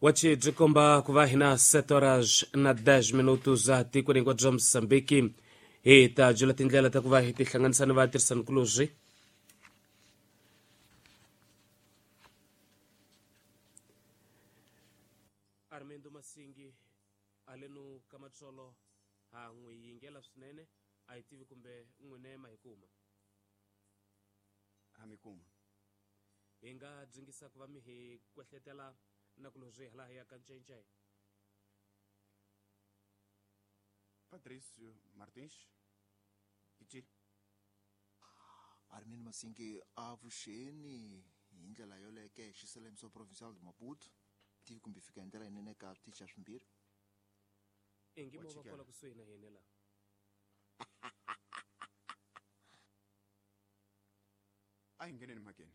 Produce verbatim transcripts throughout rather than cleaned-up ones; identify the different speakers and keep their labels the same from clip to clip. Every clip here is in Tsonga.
Speaker 1: Wachi byi komba ku va hina sete horas na dez minutos a tikweni hinkwabyo bya Mozambique. Hi ta byela tindlela ta ku va hi tihlanganisa ni vatirhisanikulorhi. Armando Masingi alenu ka matsolo ha n'wi yingela swinene, a hi tivi kumbe n'wine ma hi kuma.
Speaker 2: Ha mi kuma.
Speaker 1: Hi nga dzingisa ku va mi hi kwehletela na kulorhi hala hi ya ka ncence.
Speaker 2: Patrício Martins Kichiri.
Speaker 3: Armindo Masingi avuxeni hi ndlela yoleke xiselemiso provincial de Maputo. Tivi kumbe fika hi ndlela yinene ka switichi swimbirhi.
Speaker 1: Ingi mo va
Speaker 2: Wachikela.
Speaker 1: kwala kusuhi na hina la.
Speaker 2: A hi ngheneni mhakeni.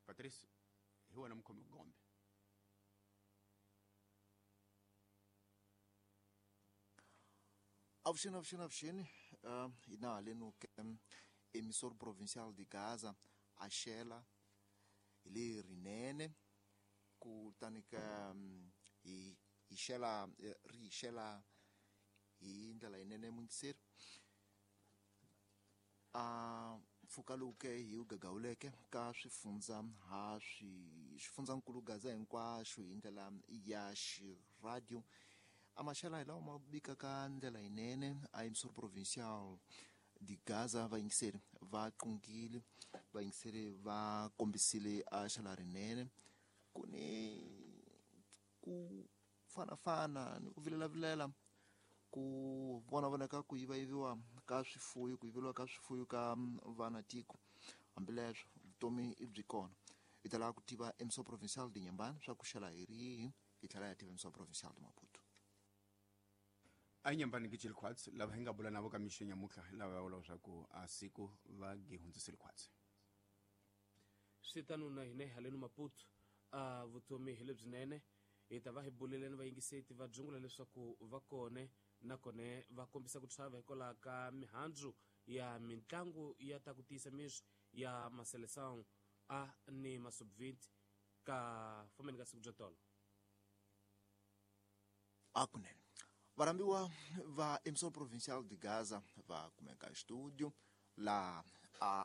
Speaker 2: Patrice, hi wena mukhomi gombe.
Speaker 3: Avuxeni, avuxeni, avuxeni. Uh, hina haleno ke emissor provincial de Gaza axela hi le rinene kutani ka hi hi xela ri hi xela hi ndlela yinene muyingiseri. A mpfhuka lowu ke hi wu gagawuleke ka swifundza ha swi xifundzankulu Gaza hinkwaxo hi ndlela ya xiradio. A maxela hi lawa ma bikaka ndlela yinene a emissor provincial de Gaza. Vayingiseri va qungile, vayingiseri va kombisile a xela rinene. Ku ni ku fanafana ni ku vilelavilela ku vona vonaka ku yivayiviwa ka swifuyo, ku yiveriwa ka swifuyo ka vana tiko. Hambileswo vutomi i byi kona. Hi ta lava ku tiva emissor provincial de Inhambane swa ku xela hi rihi, hi tlhela hi tiva emissor provincial de Maputo.
Speaker 2: A hi Inhambane Kichiri Khwatsi lava hi nga bula navo ka mixo nyamutlha lava va vula leswaku a siku va gi hundzisile khwatsi.
Speaker 1: Swi tano na hina haleno Maputo a vutomi hi lebyinene. Hi ta va hi bulele ni vayingiseti va dzungula leswaku va kone nakone va kombisa ku chava hikwalaho ka mihandzu ya mitlangu ya ta ku tiyisa miri ya Maseleção a ni Masubviti ka fambeni ka siku bya tolo.
Speaker 3: A kunene varhambiwa va emissor provincial de Gaza va kumeka studio la a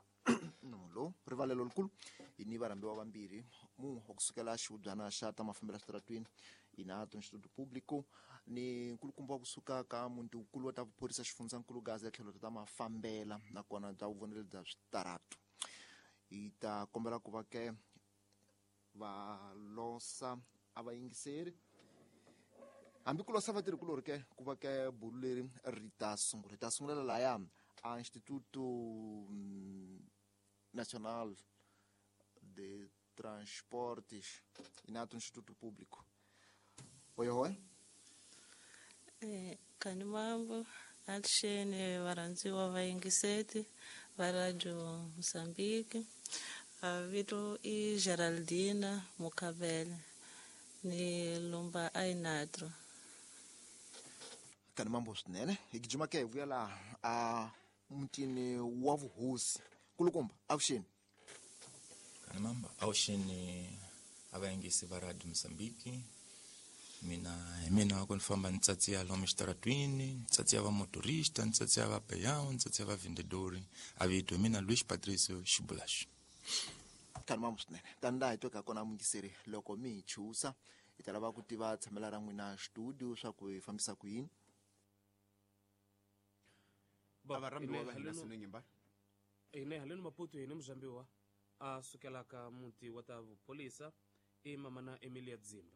Speaker 3: nomo lowu rivalelo likulu. Hi ni varhambiwa vambirhi, mun'we wa kusukela xihubyana xa ta mafambelo switaratwini ina Instituto Público ni nkulukumba wa kusuka ka muti wukulu wa ta vuphorisa xifundzankulu Gaza tlhelo ta mafambela nakona bya vuvonelo bya switaratu. Hi ta kombela ku va ke va losa a va yingiseri hambi ku losa vatirhikulorhi ke ku va ke bulu leri ri ta sungula. Hi ta sungulela laya a Instituto Nacional de Transportes inato Instituto Público. Oi, oi.
Speaker 4: Eh, kani mambo alxeni varhandziwa vayingiseti va Radio Mozambique. A vito i Geraldina Mukhabele ni lumba Ainatro.
Speaker 3: Kani mambo swinene. Hi gijima ke hi vuya laha a mutini wa vuhosi. Kulukumba avuxeni.
Speaker 5: Kani mambo avuxeni a vayingisi va Radio Mozambique. Mina hi mina ku ni famba ni tsatsiya lomu xitaratwini, ni tsatsiya va motorista, ni tsatsiya va peão, ni tsatsiya va vendedori. A vito hi mina Luis Patricio Xibulaxi.
Speaker 3: Kani mambo swinene. Tani laha hi tweka kona muyingiseri loko mi hi chusa hi ta lava ku tiva tshamela ra n'wina studio swa ku hi fambisa ku yini.
Speaker 2: A varhambiwa va hina Sino Inhambane.
Speaker 1: Hina haleno Maputo hina muzambiwa a sukelaka muti wa ta vupholisa i mamana Emilia Dzimba.